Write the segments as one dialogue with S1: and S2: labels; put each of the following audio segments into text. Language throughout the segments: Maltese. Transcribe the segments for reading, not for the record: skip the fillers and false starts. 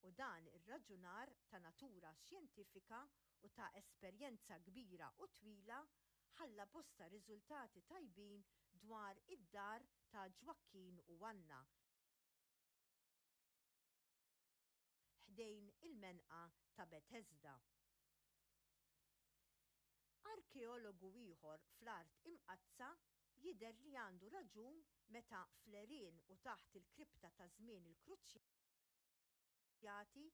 S1: U dan ir-raġunar ta' natura xjentifika u ta' esperjenza kbira u twila ħalla bosta riżultati tajbin dwar id-dar ta' Ġwakkin u Anna ħdejn il-menqa ta' Betesda. Arkeologu ieħor fl-Art Imqaddsa jidher li għandu raġun meta fl-għerien u taħt il-kripta ta' żmien il-Kruċjati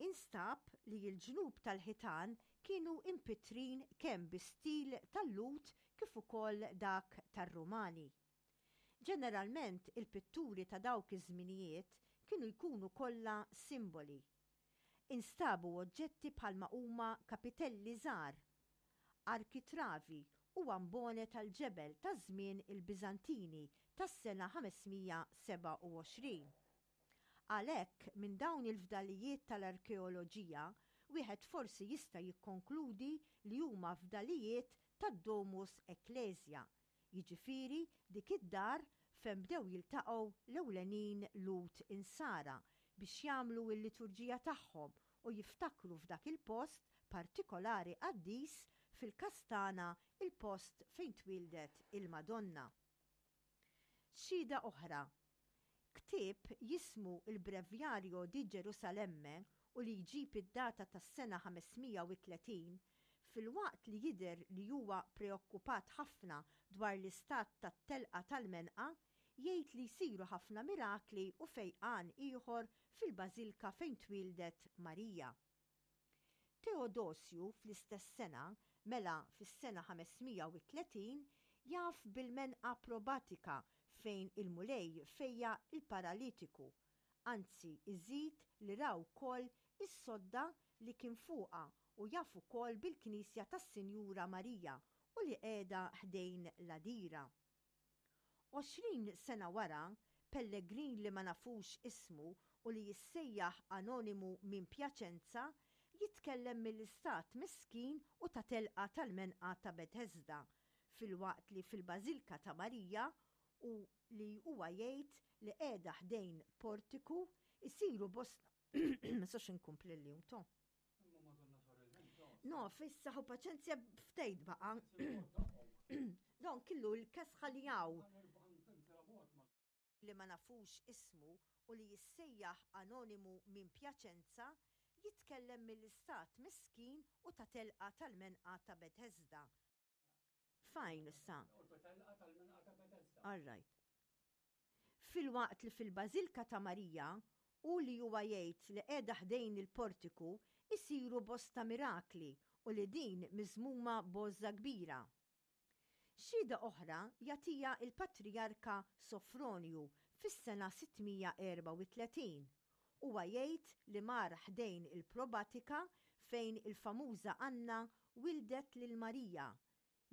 S1: Instab li l-ġnub tal-ħitan kienu impittrin kemm bi stil tal-Lhud kif ukoll dak tar-Rumani. Ġeneralment il-pitturi ta' dawk iż-żminijiet kienu jkunu kollha simboli. Instabu oġġetti bħalma huma kapitelli żgħar, arkitravi u ambone tal-ġebel ta' żmien il-Biżantini tas-sena 527. Għalhekk, minn dawn il-fdalijiet tal-arkeoloġija, wieħed forsi jista' jikkonkludi li huma fdalijiet tad-Domus Ecclesia, jiġifieri dik id-dar fejn bdew jiltaqgħu l-ewlenin Lhud Insara biex jagħmlu l-liturġija tagħhom u jiftakru f'dak il-post partikolari qaddis fil-Kastana il-post fejn twieldet il-Madonna. Xhieda oħra Ktieb jismu Il Breviario di Gerusalemme u li jġib id-data tas-sena 530, filwaqt li jidher li huwa preokkupat ħafna dwar l-istat tat-telqa tal-menqa, jgħid li jsiru ħafna mirakli u fejqan ieħor fil-bażilka fejn twieldet Marija. Teodosju fl-istess sena, mela fis-sena 530, jaf bil-menqa probatika fejn il-Mulej fejjaq il-paralitiku, anzi iżid li ra wkoll is-sodda li kien fuqha u jaf ukoll bil-knisja tas-Sinjura Marija u li qiegħda ħdejn l-għadira. 20 sena wara, pellegrin li ma nafux ismu u li jissejjaħ Anonimu minn Piacenza jitkellem mill-istat miskin u ta' telqa tal-menqa ta' Bethesda, filwaqt li fil-Bażilka ta' Marija, u li huwa jgħid li qiegħda ħdejn portiku, isiru bosta Ma nistax inkompli llum, to. No, fissa hu paċenzja ftejt baqa. Don killu l-kesħa li hawn. Li ma nafux ismu u li jissejjaħ Anonimu minn Piacenza, jitkellem mill-istat miskin u ta' telqa tal-menqa ta' Bethesda. Fine issa. All right. Filwaqt li fil-Bażilka ta' Marija, u li huwa jgħid li qiegħda ħdejn il-portiku, isiru bosta mirakli u li din miżmuma b'għożża kbira. Xhieda oħra jagħtiha l-Patrijarka Sofronju fis-sena 634. Huwa jgħid li mar ħdejn il-Probatika fejn il-famuża Anna wildet lil Marija,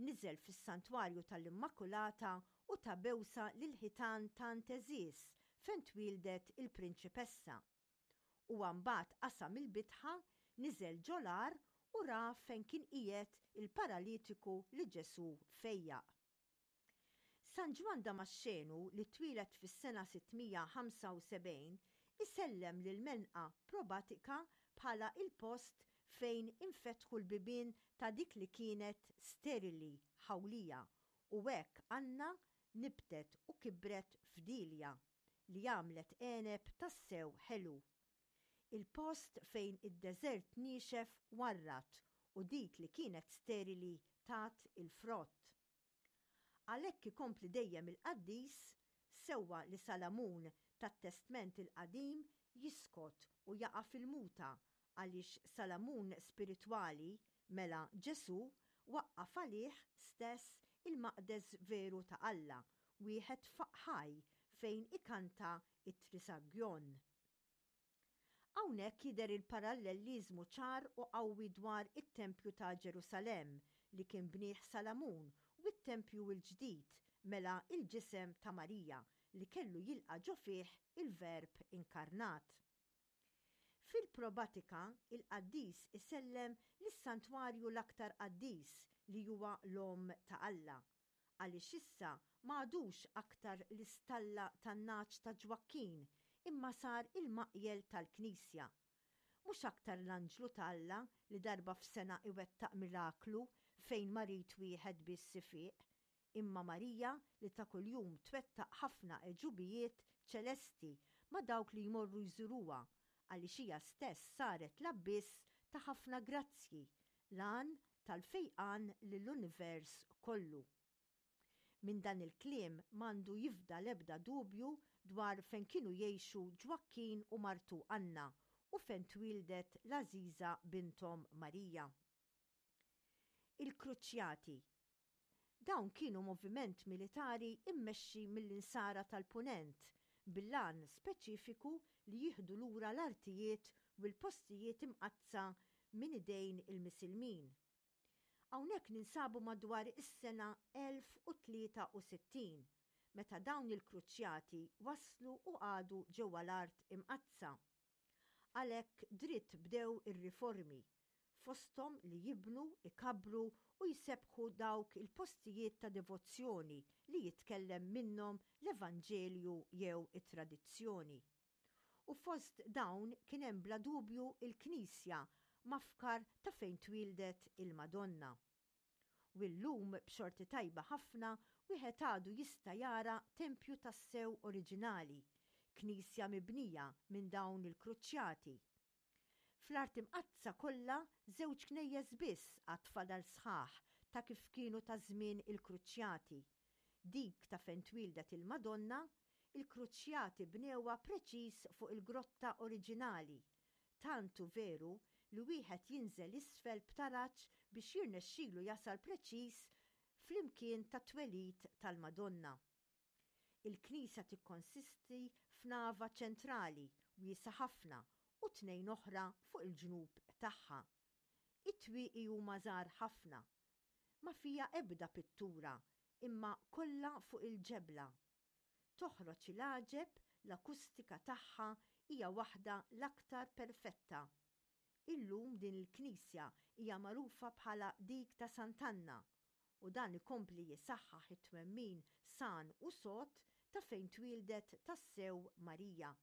S1: niżel fis-Santwarju tal-Immakulata u ta bewsa lill-ħitan tant għeżież fejn twieldet il-Prinċipessa. Huwa mbagħad qasam il-bitħa, niżel ġol-għar u ra fejn kien qiegħed il-paralitiku li Ġesù fejjaq. San Ġwann Damaxxenu li twieled fis-sena 675 isellem lill-Menqa Probatika bħala il-post fejn infetħu l-bibien ta' dik li kienet sterili, ħawlija, u hekk Anna nibtet u kibret f'Dielja li għamlet għeneb tassew ħelu. Il-post fejn id-deżert niexef warrad u dik li kienet sterili tat il-frott. Għalhekk ikompli dejjem il-qaddis, sewwa li Salamun tat-Testment il-Qadim jiskot u jaqa' fil-muta għaliex Salamun spiritwali, mela Ġesù, waqqaf għalih stess il-maqdes veru ta' Alla, wieħed ħaj fejn ikanta t-Trisagjon. Hawnhekk jidher il-parallelliżmu ċar u qawwi dwar it-tempju ta' Ġerusalemm li kien bnieh Salamun u t-tempju l-ġdid, mela l-ġisem ta' Marija li kellu jilqa' ġo fih il-Verb inkarnat. Fil-probatika, il-qaddis isellem lis-santwarju l-aktar qaddis li huwa l-Omm ta' Alla. Għaliex issa ma għadux aktar l-istalla tan-nagħaġ ta' Ġwakkin imma sar il-maqjel tal-knisja. Mhux aktar l-anġlu ta' Alla li darba f'sena iwettaq miraklu fejn marid wieħed biss ifiq, imma Marija li ta' kuljum twettaq ħafna għeġubijiet ċelesti ma' dawk li jmorru jżuruha għaliex hija stess saret l-abbiss ta' ħafna grazzji, l-għan tal-fejqan lill-univers kollu. Minn dan il-kliem m'għandu jifdal ebda dubju dwar fejn kienu jgħixu Ġwakkin u martu Anna u fejn twieldet l-għażiża binthom Marija. Il-Kruċjati Dawn kienu moviment militari mmexxi mill-Insara tal-Punent bil-għan speċifiku li jieħdu lura l-artijiet u l-postijiet imqaddsa minn idejn il-Misilmin. Hawnhekk ninsabu madwar is-sena 1063, meta dawn il-Kruċjati waslu u qagħdu ġewwa l-Art Imqaddsa. Għalhekk dritt bdew ir-riformi, fosthom li jibnu, ikabbru u jsebbħu dawk il-postijiet ta' devozzjoni li jitkellem minnhom l-Evanġelju jew it-tradizzjoni. U fost dawn kien hemm bla dubju l-knisja mafkar ta' fejn twieldet il-Madonna. U llum b'xorti tajba ħafna wieħed għadu jista' jara tempju tassew oriġinali, knisja mibnija minn dawn il-kruċjati. Fl-Art Imqaddsa kollha żewġ knejjes biss għad fadal sħaħ ta' kif kienu ta' żmien il-kruċjati, dik ta' fejn twieldet il-Madonna, il-kruċjati bnewha preċiż fuq il-grotta oriġinali, Tant hu veru li wieħed jinżel isfel b'taraġ biex jirnexxilu jasal preċiż fl-imkien tat-twelid tal-Madonna. Il-knisja tikkonsisti f'nava ċentrali wiesgħa ħafna u tnejn oħra fuq il-ġnub tagħha. It-twieqi huma żgħar ħafna. Ma fiha ebda pittura imma kollha fuq il-ġebla. Toħroġ il-għaġeb, l-akustika tagħha hija waħda l-aktar perfetta. Illum din il-knisja hija magħrufa bħala dik ta' Sant'Anna u dan ikompli jisaħħaħ it-twemmin san u sod ta' fejn twieldet tassew Marija.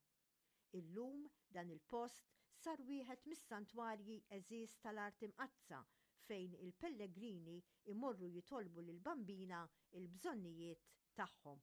S1: Illum dan il-post sar wieħed mis-santwarji għeżież tal-Art Imqaddsa fejn il-pellegrini jmorru jitolbu lill-Bambina l-bżonnijiet tagħhom.